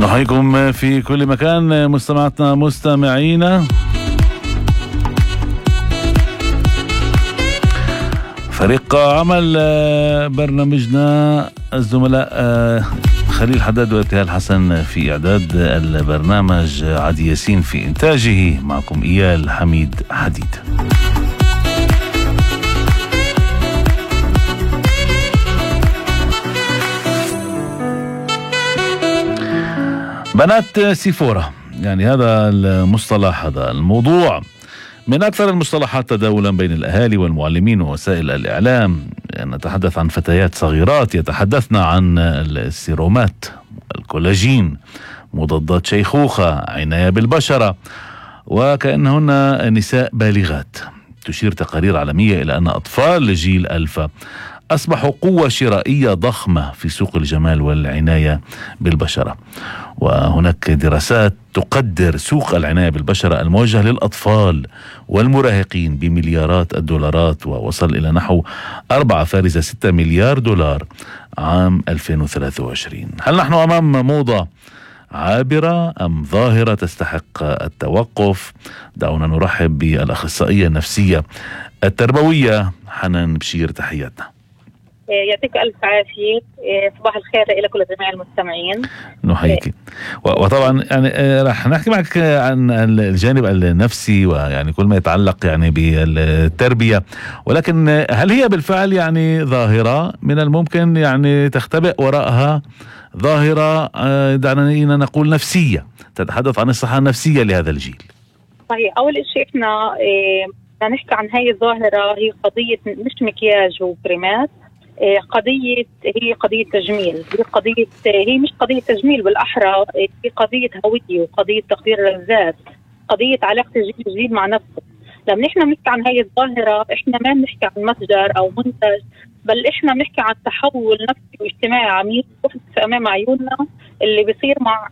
نحييكم في كل مكان مستمعاتنا مستمعينا. فريق عمل برنامجنا الزملاء خليل حداد وابتهال حسن في إعداد البرنامج، عدي ياسين في إنتاجه، معكم إيال حميد حديد. بنات سيفورا، يعني هذا المصطلح، هذا الموضوع من أكثر المصطلحات تداولا بين الأهالي والمعلمين ووسائل الإعلام. نتحدث عن فتيات صغيرات يتحدثن عن السيرومات، الكولاجين، مضادات شيخوخة، عناية بالبشرة، وكأنهن نساء بالغات. تشير تقارير عالمية إلى أن أطفال جيل ألفا أصبحوا قوة شرائية ضخمة في سوق الجمال والعناية بالبشرة. وهناك دراسات تقدر سوق العناية بالبشرة الموجه للأطفال والمراهقين بمليارات الدولارات، ووصل إلى نحو 4.6 مليار دولار عام 2023. هل نحن أمام موضة عابرة أم ظاهرة تستحق التوقف؟ دعونا نرحب بالأخصائية النفسية التربوية حنان بشير، تحياتنا. يعطيك ألف عافية. صباح الخير لك ولجميع المستمعين. نحييك. وطبعا يعني رح نحكي معك عن الجانب النفسي ويعني كل ما يتعلق يعني بالتربية، ولكن هل هي بالفعل يعني ظاهرة من الممكن يعني تختبئ وراءها ظاهرة دعنا نقول نفسية، تتحدث عن الصحة النفسية لهذا الجيل؟ صحيح. أول شيء احنا بدنا نحكي عن هاي الظاهرة، هي قضية مش مكياج وكريمات، هي قضية تجميل، هي مش قضية تجميل، بالأحرى هي قضية هوية وقضية تقدير للذات، قضية علاقة الجيل مع نفسه. لما نحن بنحكي عن هاي الظاهرة احنا ما بنحكي عن متجر أو منتج، بل احنا بنحكي عن تحول نفسي واجتماعي عميق في أمام عيوننا اللي بيصير مع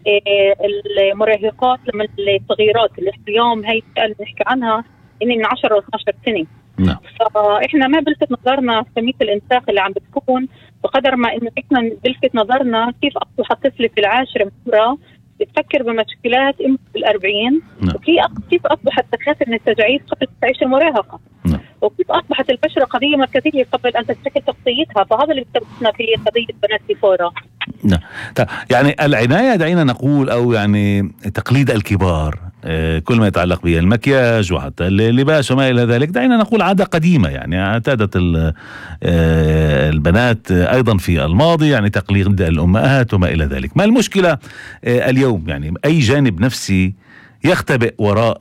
المراهقات لما الصغيرات اللي اليوم هاي بنحكي عنها إني من 10 و 12 سنة. فإحنا ما بلفت نظرنا كمية الإنساق اللي عم بتكون، بقدر ما إنه إحنا بلفت نظرنا كيف أصبح الطفل في العاشرة من عمره بتفكر بمشكلات بال40، وكيف أصبحت تخاف من التجاعيد قبل تعيش المراهقة، وكيف أصبحت البشرة قضية مركزية قبل أن تشكل شخصيتها. فهذا اللي بتبقى في قضية بنات سيفورا. يعني العناية دعينا نقول أو يعني تقليد الكبار، كل ما يتعلق بالمكياج وحتى اللباس وما إلى ذلك، دعينا نقول عادة قديمة يعني اعتادت البنات أيضا في الماضي يعني تقليد الأمهات وما إلى ذلك. ما المشكلة اليوم؟ يعني أي جانب نفسي يختبئ وراء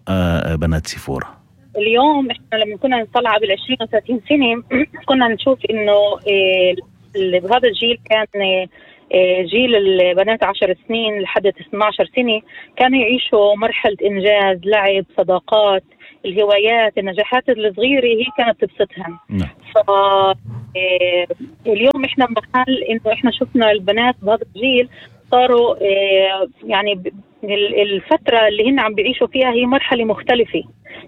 بنات سيفورا؟ اليوم احنا لما كنا نطلع بال20 و30 سنة كنا نشوف إنه بهذا الجيل كان جيل البنات 10 سنين لحد 12 سنة كانوا يعيشوا مرحلة إنجاز، لعب، صداقات، الهوايات، النجاحات الصغيرة هي كانت تبسطهم. اليوم احنا بمحل إنه احنا شفنا البنات بهذا الجيل صاروا يعني الفترة اللي هن عم بيعيشوا فيها هي مرحلة مختلفة.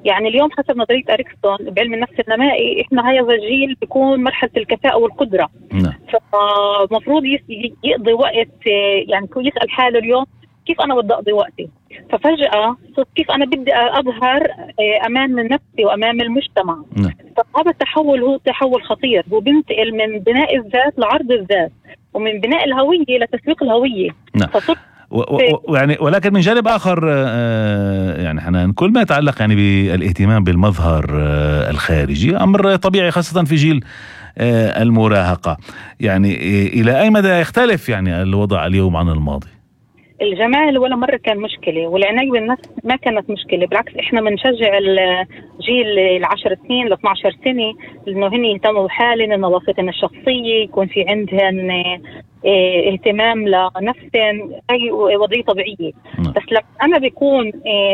يعني اليوم حسب نظرية أريكسون بعلم النفس النمائي احنا هذا الجيل بيكون مرحلة الكفاءة والقدرة. فمفروض يقضي وقت، يعني يسأل حاله اليوم كيف أنا بدي أقضي وقتي. ففجأة كيف أنا بدي أظهر أمام نفسي وأمام المجتمع. فهذا التحول هو تحول خطير، هو بينتقل من بناء الذات لعرض الذات، ومن بناء الهوية لتسويق الهوية. يعني ولكن من جانب آخر يعني حنان، كل ما يتعلق يعني بالاهتمام بالمظهر الخارجي أمر طبيعي خاصة في جيل المراهقة. يعني إلى أي مدى يختلف يعني الوضع اليوم عن الماضي؟ الجمال ولا مرة كان مشكلة، والعناية بالنفس ما كانت مشكلة. بالعكس احنا بنشجع الجيل 10 سنين ل 12 سنة انه هن يهتموا بحالهم، نظافتهم الشخصية، يكون في عندهن اهتمام لنفسهم، هي وضعية طبيعية. بس لما انا بيكون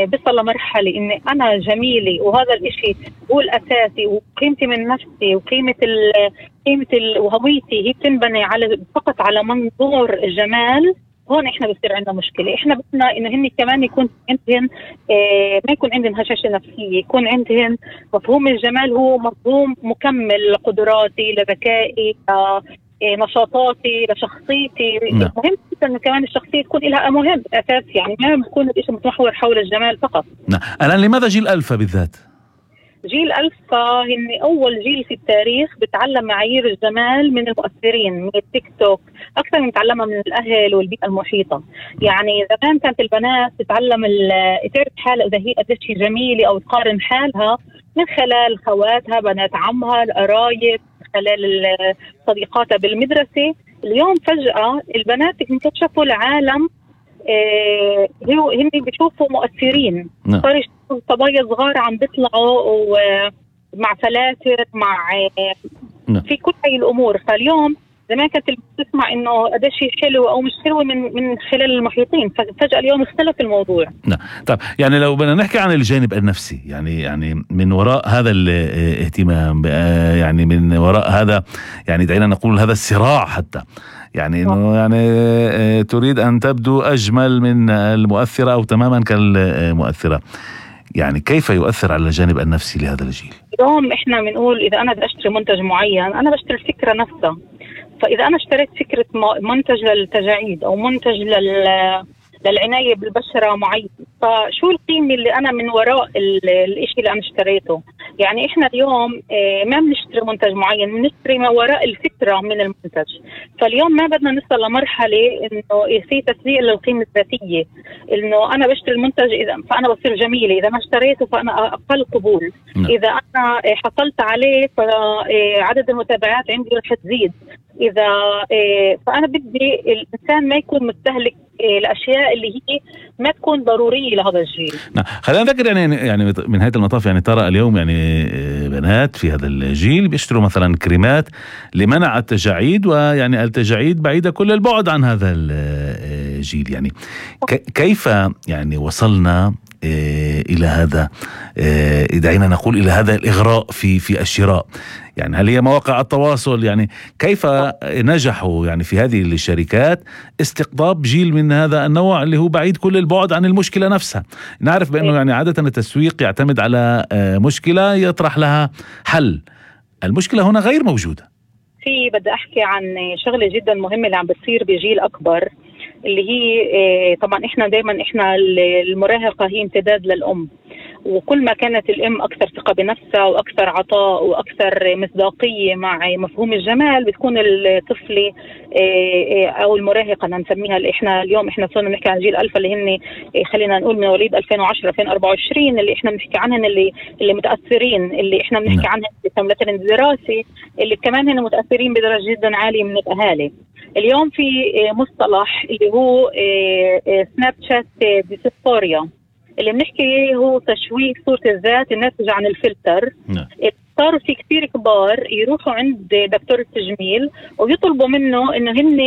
بصل لمرحلة اني انا جميلة وهذا الاشي هو الاساسي، وقيمتي من نفسي وقيمة وهويتي هي بتنبني فقط على منظور الجمال، هون احنا بصير عندنا مشكله. احنا بدنا انه هن كمان يكون عندهم ما يكون عندهم هشاشه نفسيه، يكون عندهم مفهوم الجمال هو مفهوم مكمل لقدراتي، لذكائي، نشاطاتي لشخصيتي. نعم. مهم جدا انه كمان الشخصيه تكون لها مهم اساس، يعني ما بيكون الشيء متمحور حول الجمال فقط. نعم. الآن لماذا جيل ألفا بالذات؟ جيل ألفا هن أول جيل في التاريخ بتعلم معايير الجمال من المؤثرين، من التيك توك أكثر من تعلمها من الأهل والبيئة المحيطة. يعني زمان كانت البنات تتعلم تعرف حالها إذا هي قديش هي جميلة أو تقارن حالها من خلال خواتها، بنات عمها، القرايب، خلال صديقاتها بالمدرسة. اليوم فجأة البنات اكتشفوا العالم، هن بيشوفوا مؤثرين. صار يشوفوا صبايا صغار عم بيطلعوا مع فلاتر، مع في كل هاي الامور. فاليوم زمان كانت بتسمع انه قديش هي حلوه او مش حلوه من خلال المحيطين، فجاه اليوم اختلف الموضوع. نعم. طيب يعني لو بدنا نحكي عن الجانب النفسي، يعني من وراء هذا الاهتمام، يعني من وراء هذا، يعني دعينا نقول هذا الصراع حتى، يعني انه يعني تريد ان تبدو اجمل من المؤثره او تماما كالمؤثره، يعني كيف يؤثر على الجانب النفسي لهذا الجيل؟ اليوم احنا بنقول اذا انا بدي اشتري منتج معين انا بشتري الفكره نفسها. فاذا انا اشتريت فكره منتج للتجاعيد او منتج للعنايه بالبشره معين، فشو القيمه اللي انا من وراء الاشي اللي انا اشتريته؟ يعني احنا اليوم ما بنشتري منتج معين، بنشتري ما وراء الفكره من المنتج. فاليوم ما بدنا نوصل لمرحله انه في تسويق للقيمه الذاتيه، انه انا بشتري المنتج اذا فانا بصير جميله، اذا ما اشتريته فانا اقل قبول، اذا انا حصلت عليه فعدد المتابعات عندي رح تزيد، اذا فانا بدي الانسان ما يكون مستهلك الاشياء اللي هي ما تكون ضروريه لهذا الجيل. نعم. خلينا نذكر يعني من نهايه المطاف، يعني ترى اليوم يعني بنات في هذا الجيل بيشتروا مثلا كريمات لمنع التجاعيد، ويعني التجاعيد بعيده كل البعد عن هذا الجيل. يعني كيف يعني وصلنا الى هذا، دعينا نقول الى هذا الاغراء في الشراء؟ يعني هل هي مواقع التواصل؟ يعني كيف نجحوا يعني في هذه الشركات استقطاب جيل من هذا النوع اللي هو بعيد كل البعد عن المشكلة نفسها؟ نعرف بأنه يعني عادة التسويق يعتمد على مشكلة يطرح لها حل، المشكلة هنا غير موجودة. بدي أحكي عن شغلة جدا مهمة اللي عم بتصير بجيل أكبر، اللي هي طبعا احنا دايما المراهقة هي امتداد للأم، وكل ما كانت الأم أكثر ثقة بنفسها وأكثر عطاء وأكثر مصداقية مع مفهوم الجمال، بتكون الطفلة أو المراهقة نسميها. إحنا اليوم صرنا نحكي عن جيل ألفا اللي هن خلينا نقول من مواليد 2010 2024، اللي إحنا بنحكي عنهم اللي متأثرين، اللي إحنا بنحكي عنهم مثلا الدراسي، اللي كمان هن متأثرين بدرجة جدا عالية من الأهالي. اليوم في مصطلح اللي هو سناب شات ديسفوريا، اللي بنحكي هو تشويه صورة الذات الناتجة عن الفلتر. صاروا في كثير كبار يروحوا عند دكتور التجميل ويطلبوا منه انه هن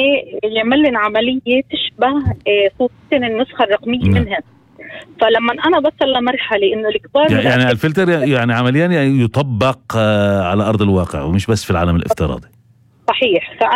يعمل لنا عملية تشبه صورتين النسخة الرقمية منها. فلما انا بصل لمرحلة انه الكبار يعني الفلتر يعني عمليا يطبق على ارض الواقع ومش بس في العالم الافتراضي. صحيح. فأنا